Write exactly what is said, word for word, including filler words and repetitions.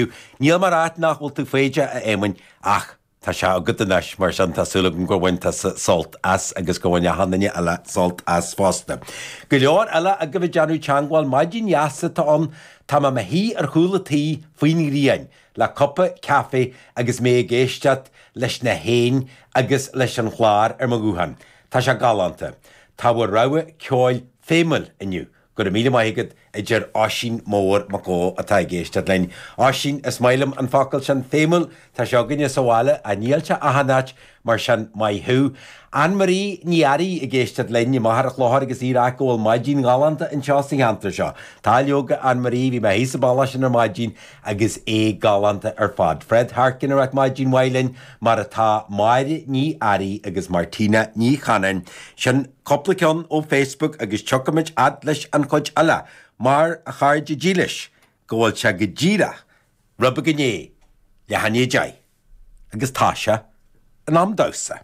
Níl mé ag rá nach bhfuil tú foighdeach, a Éamoinn, ach tá sé agat anois, mar sin tá súil agam gur bhain tusa sult as agus gur bhain achan duine eile sult as fosta. Go leor eile agaibh ag déanamh teangmháil, maidin dheas atá ann, tá mé i mo shuí ar chúl an tí faoin ghrian le cupa caife agus mé ag éisteacht leis na héin agus leis an chlár ar mo ghuthán. Tá sé galánta. Tá bhur rogha ceoil feidhmiúil inniu. Go raibh míle maith agat, a deir Oisín Mór Mac Ó atá ag éisteacht linn. Oisín, is maith liom an focal sin, feidhmiúil, tá sé againne sa bhaile, ach níl sé achan áit, mar sin maith thú. Anne Marie Ní Fhearraigh ag éisteacht linn i Machaire Chlochair agus í ag rá go bhfuil maidin ghalánta anseo sa cheantar seo. Tá leoga, Anne Marie, bhí mé thíos sa bhealach sin ar maidin agus é galánta ar fad. Fred Harkin ag rá maidin mhaith linn, mar atá Máire Ní Fhearraigh agus Martina Ní Chanainn. Sin cúpla ceann ó Facebook agus tiocfaimid fhad leis an chuid eile, mar a chairde dílis, go bhfuil sé go díreach rud beag i ndiaidh leath i ndiaidh a deich, agus tá sé in am damhsa.